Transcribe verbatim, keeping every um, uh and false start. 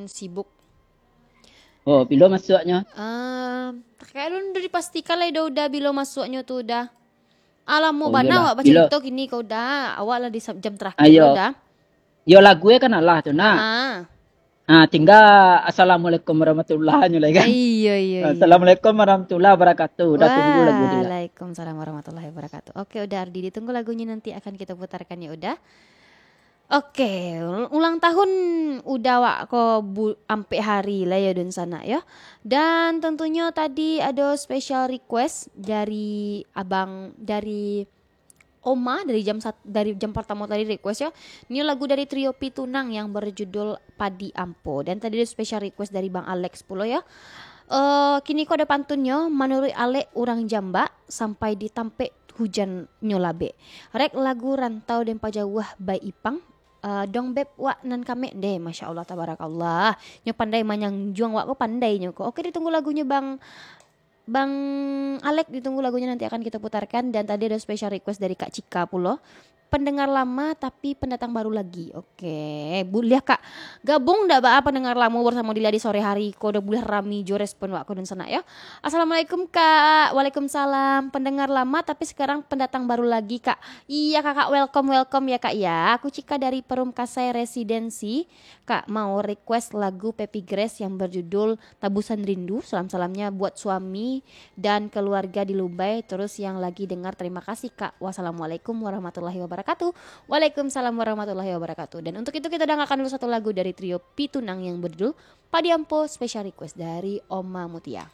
sibuk. Oh, bilo masuaknyo? Ah, kayak alun udah dipastikan lah Uda, Uda bilo masuaknyo tu Uda. Alamo Oh, bana iyolah. awak bacarito kini ko Uda. Awak lah di sa- jam terakhir Ayo. Uda. Yo, lagu e kan alah tu nah. Ah. Ah, tinggal assalamualaikum warahmatullahi nyo lai kan. Iya, iya, iya. Assalamualaikum warahmatullahi wabarakatuh. Uda tunggu lagu tu lah. Waalaikumsalam warahmatullahi wabarakatuh. Oke, Uda Ardi, ditunggu lagunya, nanti akan kita putarkan ya Uda. Oke, ulang tahun Uda wak ko bu- ampek hari lah ya dunsanak ya. Dan tentunya tadi ada special request dari abang, dari Oma, dari jam sat- dari jam pertama tadi request ya. Ini lagu dari Trio Pitunang yang berjudul Padi Ampo. Dan tadi ada special request dari Bang Alex pulo ya. Eh, kini ko ada pantunnyo, manuruik Alek urang Jambak, sampai di tampek hujan nyo labek. Rek lagu Rantau Dempa Jauah by Ipang. Eh, dong beb wak nan kamek deh, Masya Allah, tabarakallah. Nyo pandai manyanjuang wak ko, pandai nyo ko. Oke, ditunggu lagunya Bang Bang Alek, ditunggu lagunya, nanti akan kita putarkan. Dan tadi ada special request dari Kak Cika pulo. Pendengar lama tapi pendatang baru lagi. Oke, buliah Kak gabung ndak baa pendengar lamo bersamo Dila di sore hari ko, udah buliah rami jo respon wak ko dunsanak yo. Assalamualaikum Kak. Waalaikumsalam. Pendengar lama tapi sekarang pendatang baru lagi Kak. Iya Kakak, welcome welcome ya Kak ya. Aku Cika dari Perum Kasai Residensi. Kak mau request lagu Pepi Grace yang berjudul Tabusan Rindu. Salam-salamnya buat suami dan keluarga di Lumbai. Terus yang lagi dengar, terima kasih Kak. Wassalamualaikum warahmatullahi wabarakatuh. Waalaikumsalam warahmatullahi wabarakatuh. Dan untuk itu kita dengarkan dulu satu lagu dari Trio Pitunang yang berjudul Padi Ampo, special request dari Oma Mutia.